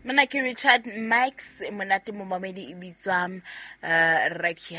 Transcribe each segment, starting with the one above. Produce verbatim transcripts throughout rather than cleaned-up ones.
Mona ke Richard Marx, monate momamedi e bitswa uh, right here.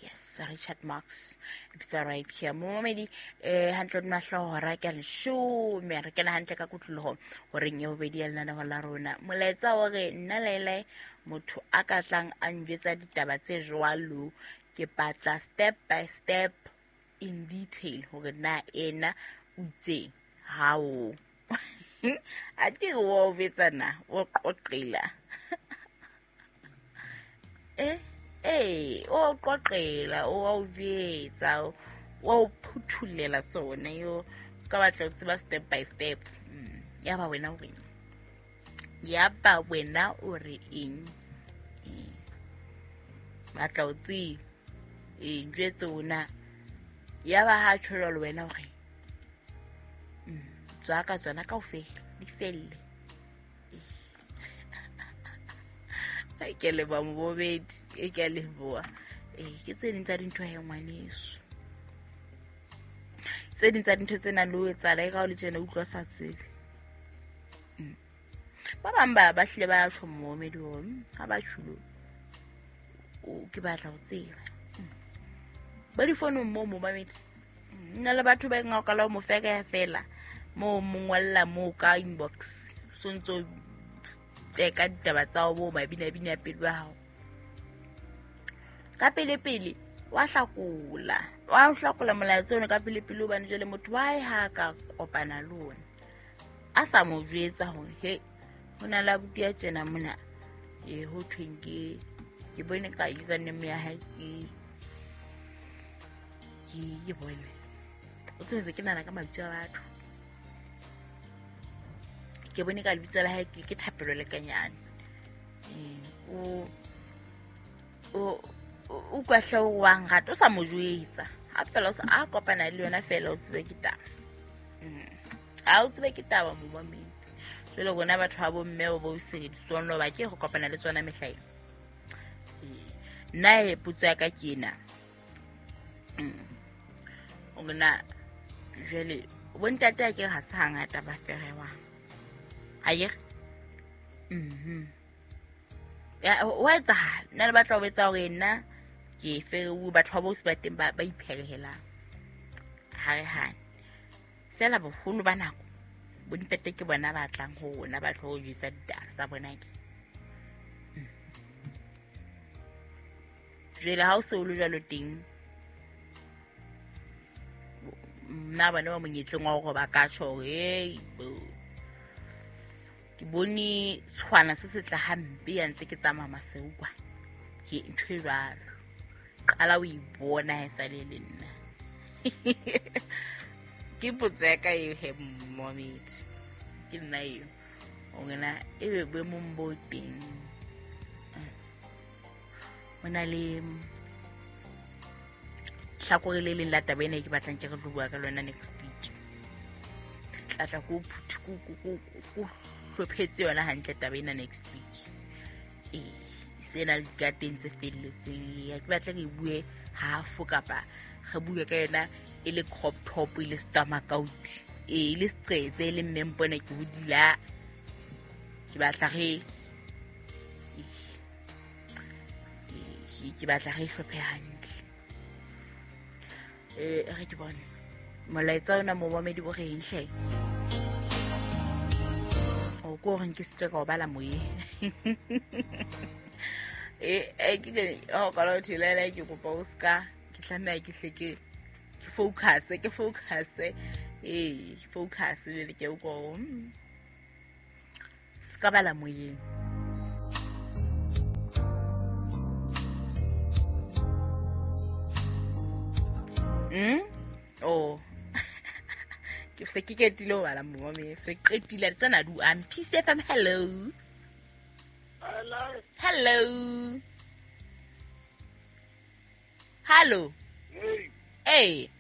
Yes, Richard Marx e bitswa right here. Momamedi eh hantle di mahlohora ke leshome re kena hantle ka kutloloho horeng ya bobedi ya lenaneo la rona. Molaetsa o re nna lele motho a ka tlang a njwetsa ditaba tse jwalo ke batla step by step in detail hore na ena o itse hao. A ke o betsana o qoqela eh eh o qoqela o o betsa o phuthulela tsona yo ka batla ho tseba step by step. Ya ba wena o reng, ya ba wena o re eng, batla o tseba e njwetse ona ya ba ha tjho jwalo wena o re tswa ka tsona kaofela di felle. Ke leboha mobobedi, e ke a leboha. Eh ke tse ding tsa dintho he ngwaneso, tse ding tsa dintho tse nang le ho etsahala e ka o le tjena utlwa sa tsebe. Ba bang ba ba hlile ba tjho momedi hore ha ba tjhulo o ke batla ho tseba ba di founong moo momamedi nna le batho ba ngakala mo feka fela mo mongwalla mo ka inbox so ntso teka ditaba tsa bo mabina bina pelo ya hao ka pele pele wa hlakola wa hlakola molaetsa ona ka pele pele hobane jwale motho wa ha ka kopana le ona a sa mo jwetsa hore he hona la buti ya tjena mona e ho thweng ke ke bone ka username ya hae ke ke ke bone o tsetse ke nana ka mabitso a batho ke bone ka lebitso la hae ke ke Thapelo Lekanyane. Eh o o o kwahla o wang rata o sa mo jwetsa ha fela o sa a kopana le yona fela o tsebe ke taba. Ha o tsebe ke taba mo mamedi. Jwale rona batho ba bo mme bo bo sebedisong lo ba ke go kopana le tsona mehlae. Nna e potso ya ka ke ena. O rena jwale bontate a ke ha se hangata ba ferewang. Ayer mhm ya wa etsahala nna le batla ho etsa hore nna ke ferewe batho ba bo se ba teng ba ba ipherehelang ha re hane fela boholo ba nako bontate ke bona ba tlang ho rona ba tlo ho jwetsa ditaba tsa bona ke jwale ha o se o le jwalo teng nna bana ba monyetleng wa hore ba ka tjho hore hey bo ke bone tshwana se se tla hampe ya ntse ke tsamaya maseu kwa ke ntho e jwalo qala o ibona ha sa le le nna ke potso ya ka eo he momedi ke nna eo o ngena ebe boemong bo teng ho na le hlakore le leng la taba ena e ke batlang ke re tlo bua ka lona next week tla tla ko ko ko ko hlophetse yona hantle taba ena next week. Eh sena le dikateng tse felletseng ya ke batla re bue half kapa re bue ka yona e le crop top e le stomach out e le stress e le mmempone ke hodila ke batla re ke batla re hlophe hantle. Eh re ke bone molaetsa ona momamedi bo re eng hle o ko reng ke se ka o bala moyeng eh eh ke ke o ka lo thilela ke kopa o ska ke tlameha ke hle ke ke focus ke focus eh focus le ke o ko ska bala moyeng. Mm oh ke se ke ketile ho bala momamedi se qetile tsena du am P C F M. Hello hello hello hello hey hey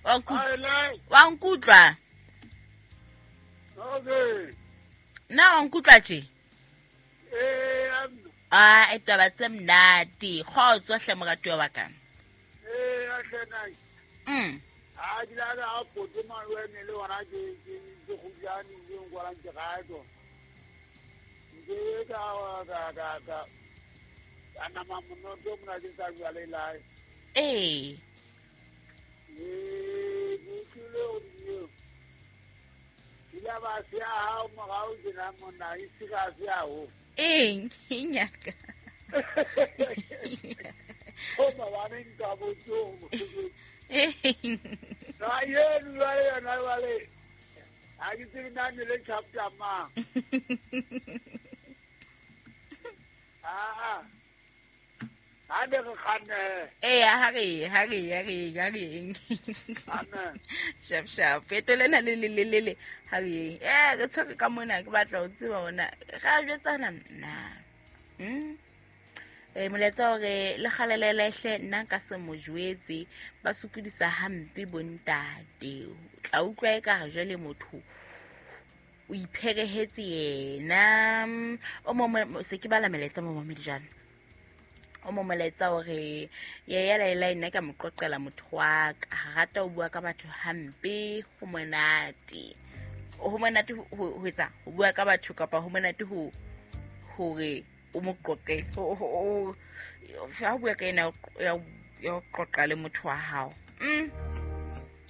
wa nkutlwa wa nkutlwa okay na wa nkutlwa tje eh ah e taba tse mnati kgotso hle moratuwa wa ka eh a hlena mm a di la ga potse manwe ne le wona ke ke ke go jane ke ngwa ke ga to Ke ka ka ka ka. Ana mamuno to mna ke sa bua le lai. Ee. Ee, ke le o di. Ila ba sia ha o morao ke na mona e sira sia ho. Eng, nyaka. O ba ba ne nka bo tso. Eng. Na ye lwa le na wa le. A ke tsebe na ne le chapter ma. Ah. A ne re kganne. Ee, ha re, ha re, ha re, ha re. Amen. Shap shap. Fetole na le le le le le. Ha re. Eh, re tshwere ka mona ke batla ho tseba ona. Ra jwetsana nna. Mm. Eh molaetsa hore le kgalelele hle nna nka se mo jwetse ba sokodisa hampe bontate. O tla utlwa e ka re jwale motho o ipherehetse yena. O mo se ke bala melaetsa mo mamedi jana. O mo molaetsa hore ye ya laela nna ka mo qoqela motho wa ka rata o bua ka batho hampe ho monate. Ho monate ho etsa ho bua ka batho kapa ho monate ho hore o mo qoqe ho ho ha bua ka ena ya ya qoqa le motho wa hao. Mm.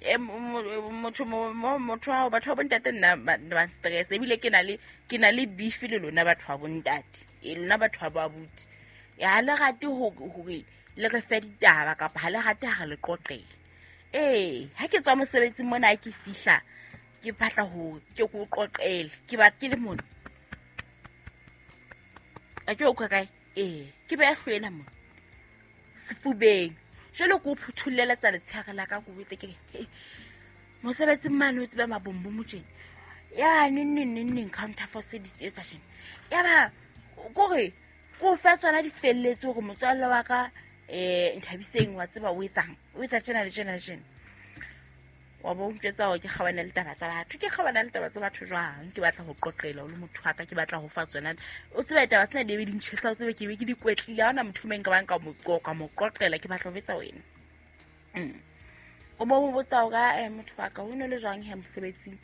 E motho motho wa batho ba bontate nna ba stress ebile ke na le ke na le beef le lona batho ba bontate. E lona batho ba abuti. Ya le rate ho hore le re fe ditaba kapa ha le rate ha re le qoqele. Eh, ha ke tswa mosebetsing mona ke fihla ke batla ho ke go qoqele, ke ba ke le mona. A ke o ka kae? Eh, ke ba hlwena mona. Sefubeng. Jwale ke o phuthulela tsa letshehare la ka go botse ke re mosebetsing mane o tsebe mabombo motjeng. Ya neng neng neng neng counter force di etsa tjena. Ya ba kore ko fa tsona di felletse hore motswalle wa ka eh Nthabiseng wa tseba o etsang o etsa tjena le tjena le tjena. Wa bo ntjetsa hore ke kgabana le taba tsa batho ke kgabana le taba tsa batho jwang ke batla ho qoqela o le motho wa ka ke batla ho fa tsona o tseba taba tsena di be di ntjhesa o tsebe ke be ke di kwetlile ha ona motho meng ka bang ka mo qoqa mo qoqela ke batla ho betsa wena. Mm. O mo botsa hore eh motho wa ka o no le jwang he mosebetsing.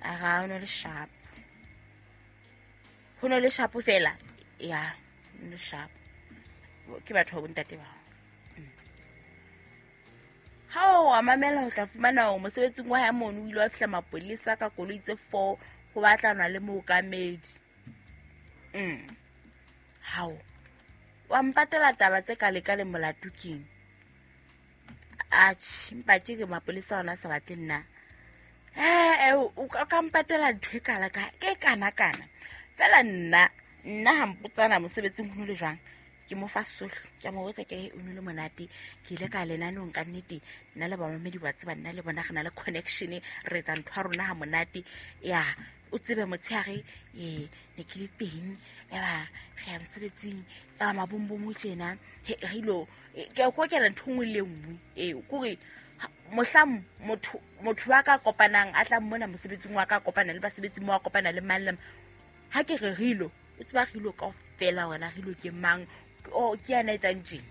A ga o no le sharp. Ho no le sharp fela ya no sharp ke batho ba bontate ba. Ha o a mamela ho tla fumana hore mosebetsing wa hae mono o ile wa fihla mapolesa ka koloi tse four ho batlanwa le mookamedi. Mm. Hao. Wa mpatela taba tse ka leka le molato keng? Atjhe, mpa ke re mapolesa ona sa batle nna. Eh, o ka mpatela ntho e kala ka ke kana kana. Fela nna nna ha mpotsana mosebetsing ho le jwang ke mo fa sohle ke mo botsa ke o nole monate ke ile ka lenanong ka nnete nna le bamamedi ba tseba nna le bona re na le connection re etsa ntho ya rona ha monate ya o tsebe motshehare e ne ke le teng ya ba re ya mosebetsing ka mabombo tjena re ilo ke o kokela ntho nngwe le nngwe e kore mohlang motho motho wa ka kopanang a tla mmona mosebetsing wa ka kopana le basebetsi mo wa kopana le mang le ha ke re rilo o tseba rilo kaofela wena rilo ke mang o ke yana etsang tjena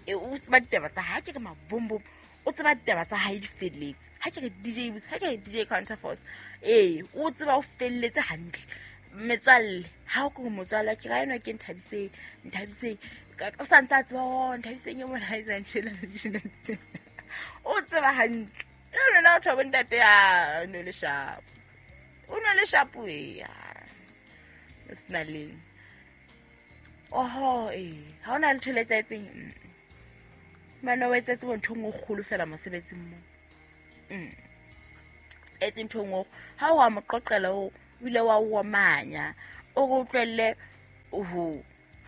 e o tseba ditaba tsa ha ke re mabombo o tseba ditaba tsa hae di felletse ha ke re D J Boots ha ke re D J Counterforce ee o tseba o felletse hantle metswalle ha o ke motswalle ke ra ena ke Nthabiseng Nthabiseng o sa ntse a tseba o Nthabiseng e mona ha etsang tjena le tjena o tseba hantle le lona o thobo ntate ya no le sharp o no le sharp e ya sna leng oho eh ha ona ntho le tsetseng mana o etsetse ntho ngwe kgolo fela mosebetsing mo mm etse ntho ngwe ha o a mo qoqela o ile wa o manya o go utlwelle ho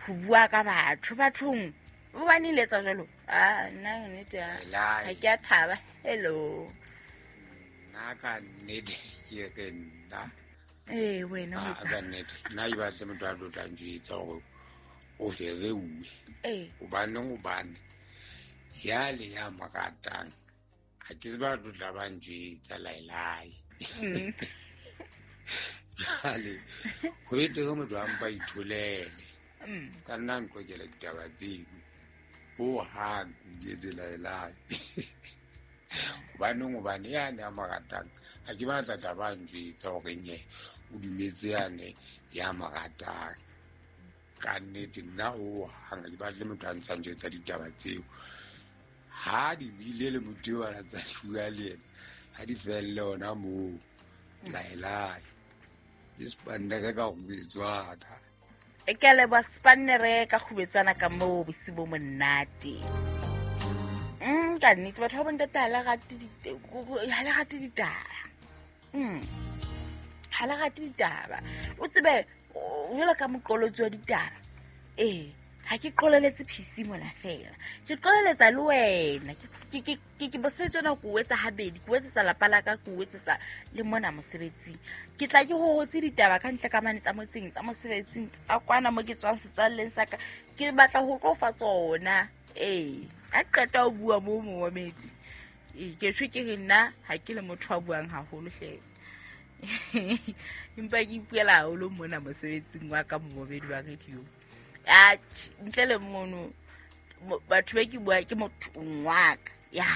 ho bua ka batho bathong o ba ni letsa jalo ah nna nnete ha ke a thaba hello nna ka nnete ke re nna eh wena o ka nnete nna e batle motho a tlo tla njwetsa hore o fereuwe eh hobane hobane ya le ya mo ratang ha ke se ba tlo tla ba njwetsa laelai jwale ho betere motho a mpa itholele se ka nna nqokela ditaba tseno hohang di etse laelai Hobaneng hobane yane a mo ratang ha ke batla taba a njwetsa hore nye o dumetse yane ya mo ratang. Ka nnete nna hohang ha ke batle motho a ntsa njwetsa ditaba tseo. Ha di bile le motho eo a tsa bua le yena, ha di felle hona moo. Laelai. Ke spannere ka kgubetswana. E ke a leboha spannere ka kgubetswana ka moo bosiu bo monate. Mm, ka nnete batho ba bontate ha le rate ha le rate ditaba. Mm. Ha le rate ditaba. O tsebe jwalo ka moqolotsi wa ditaba. Eh, ha ke qoleletse P C mona fela. Ke qoleletsa le wena. Ke ke ke ke mosebetsi ona ko o etsa habedi, ke o etsetsa lapa la ka, ke o etsetsa le mona mosebetsing. Ke tla ke hohotse ditaba ka ntle ka mane tsa motseng, tsa mosebetsing, tsa kwana mo ke tswang setswalleng sa ka. Ke batla ho tlo fa tsona. Eh, ha qeta ho bua mo momamedi. Eh, ke tjho ke re nna ha ke le motho a buang haholo hle. Empa ke ipuela haholo mona mosebetsing wa ka momamedi wa radio. Ah, ntle le mono batho ba ke bua ke motho wa ka. Ya,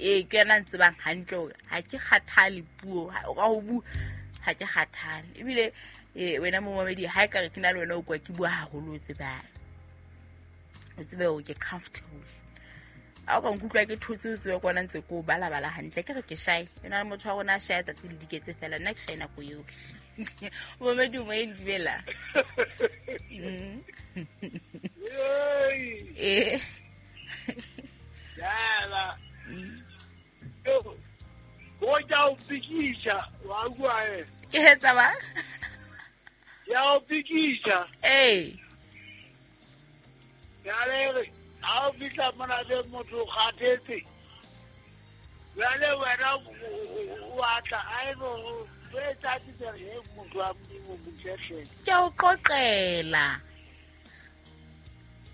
eh ke yena ntsebang hantle hore ha ke kgathale puo, ka ho bua ha ke kgathale. Ebile eh wena momamedi ha e ka re ke na le wena o kwa ke bua haholo o tsebang. O tsebe hore ke comfortable. Ha o ka nkutlwa ke thotse o tsebe kwana ntse ko bala bala hantle ke re ke shy. Ena le motho wa rona a shy tsatsi le diketse fela nna ke shy nako eo. Momamedi o mo e ndibela. Mm. Eh. Yala. Go ja o pikisha wa bua e. Ke hetsa ba? Ya o pikisha. Eh. Ya le ha o fihla mona le motho o kgathetse. Jwale wena o atla a e bo etsa tsere motho wa Modimo botletle. Ke a o qoqela.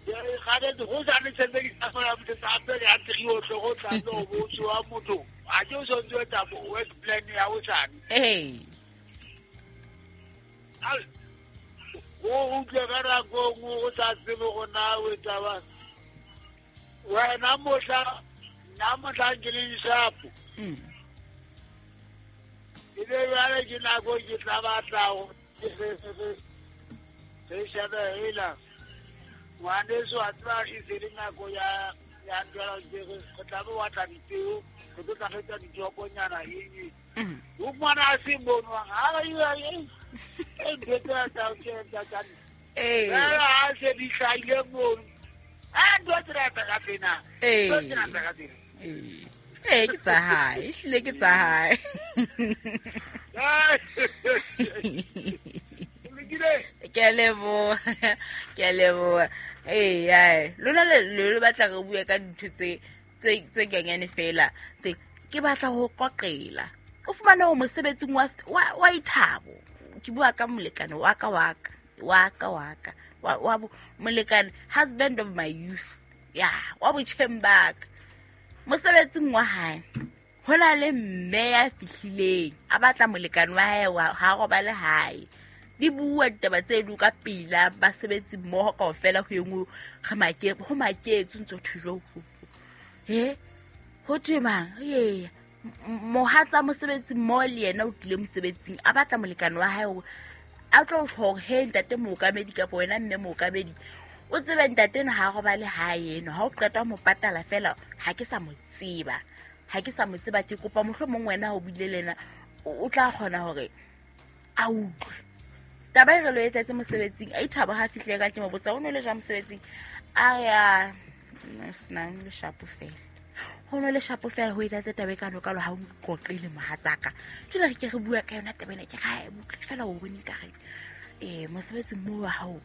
Ya kgathetse go sa ne sebedisa fela motho sa pele ya trio tle go tla no botso wa motho. A ke o sontse etsa work plan ya o sane. Eh. Al o utlwe ka nako nngwe o sa tsebe go na o etsa ba. Wena mohla nna mohla ke le shapo. Mm. E be jwale ke nako ke tla batla ho re shebe hela. Ngwaneso a tseba e se le nako ya ya ntwela ke re tla be wa tla dipeo, re tlo tla re tsa ditokonyana eng. O mwana a se bonwang ha re e e ntho tsa tsa tsa tsa. Eh. Ha se di hlahile mono. Ah, ntho tsa tsa ka tsena. Eh. Ntho tsa tsa ka tsena. Eh. Eh, ke tsa hae, ehlile ke tsa hae. Ke a leboha, ke a leboha. Eh, ai, lona le le batla re bue ka dintho tse tse tse nyenyane fela. Tse ke batla ho qoqela. O fumane ho mosebetsing wa wa ithabo. Ke bua ka molekane wa ka wa ka, wa ka wa ka. Wa wa molekane, husband of my youth. Ya, wa botjheng ba ka. Mosebetsing wa hae ho na le mme ya fihlileng a batla molekane wa hae wa ha robale hae. Di bua ditaba tse du ka pila basebetsi mmoho kaofela ho engwe re make ho maketse ntso thujo. He ho thwe mang? Ee, mohatsa mosebetsi mmoho le yena o tlile mosebetsing a batla molekane wa hae hore a tlo tjho hore he ntate mookamedi kapa wena mme mookamedi o tsebe ntate eno ha robale hae eno ha o qeta ho mo patala fela ha ke sa mo tseba. Ha ke sa mo tseba ke kopa mohlomong wena o buile le yena o tla kgona hore a utlwe. Taba e re lo etsetse mosebetsing a ithabo ha fihle ka ke mo botsa o no le jwa mosebetsing a ya no sna le shapo fela. Ho no le shapo fela ho etsetse taba e ka no ka lo ha o qoqile mohatsaka. Jwale re ke re bua ka yona taba ena ke ga e butle fela o bone ka re eh mosebetsing mo wa hao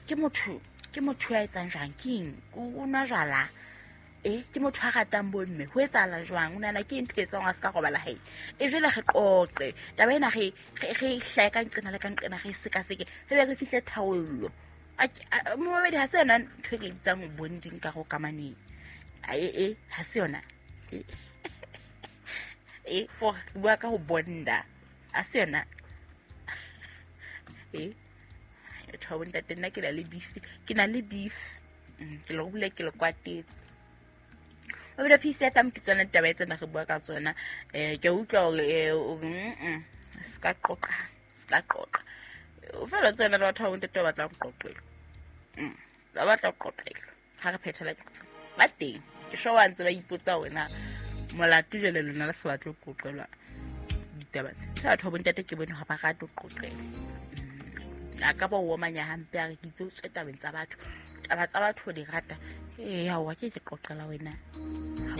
ke motho ke motho ya etsang jwang keng o nwa jwala eh ke motho a ratang bomme ho etsahala jwang o nana ke ntho e etsang a se ka robala hae e jwale re qoqe taba ena re re hlae ka nqena le ka nqena re sekaseke re be re fihle thaollo momamedi ha se yona ntho e ke bitsang bonding ka go kamaneng e e ha se yona e go bua ka ho bonda ha se yona e batho ba bontate nna ke na le beef ke na le beef ke le bule ke le kwatetse. Mabelo P C F M ke tsona ditaba tsena re bua ka tsona. um ke a utlwa hore eh, o re, mm, se ka qoqa, se ka qoqa. O fela tsena le batho ba bontate ba batlang ho qoqelwa. Mm, ba batla ho qoqelwa. Ha re phethela ke ba teng, ke sure wa ntse ba ipotsa hore na molato jwale lona le se batle ho qoqelwa ditaba tse. Tse batho ba bontate ke bone hore ba rate ho qoqelwa. Mm, a ka ba o omanya hampe, a re ke itse o tswe tabeng tsa batho, taba tsa batho o di rata. Ee, aowa, ke ke qoqela wena. Ha